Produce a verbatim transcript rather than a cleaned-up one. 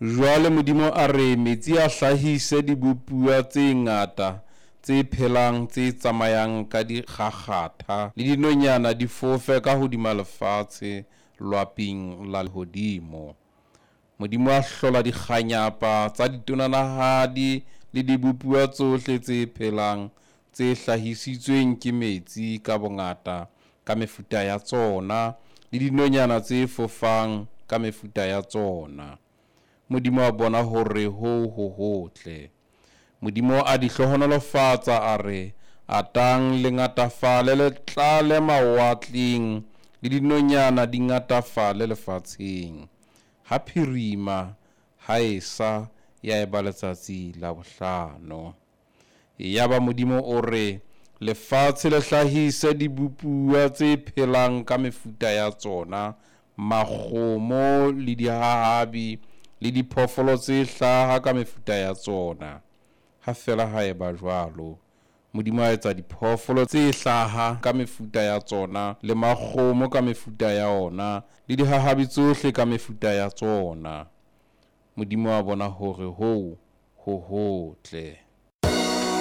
Jwale Modimo a re, metsi a hlahise dibopuwa tse ngata tse phelang, tse tsamayang ka dikgakgatha, le dinonyana di fofe kahodima lefatshe loaping la lehodimo. Modimo a hlola dikganyapa tsa ditonanahadi le dibopuwa tsohle tse phelang, tse hlahisitsweng ke metsi ka bongata, ka mefuta ya tsona, le dinonyana tse fofang ka mefuta ya tsona. Modimo a bona hore hoo ho hotle. Modimo a di hlohonolofatsa, a re, Atang le ngatafale, le tlale mawatleng, le dinonyana di ngatafale lefatsheng. Ha phirima, ha esa, ya eba letsatsi la bohlano. Yaba Modimo o re, Lefatshe le hlahise dibopuwa tse phelang ka mefuta ya tsona, makgomo, le dihahabi, le diphoofolo tse hlaha ka mefuta ya tsona. Ha fela ha eba jwalo. Modimo a etsa diphoofolo tse hlaha ka mefuta ya tsona, le makgomo ka mefuta ya ona, le dihahabi tsohle ka mefuta ya tsona. Modimo a bona hore hoo ho hotle.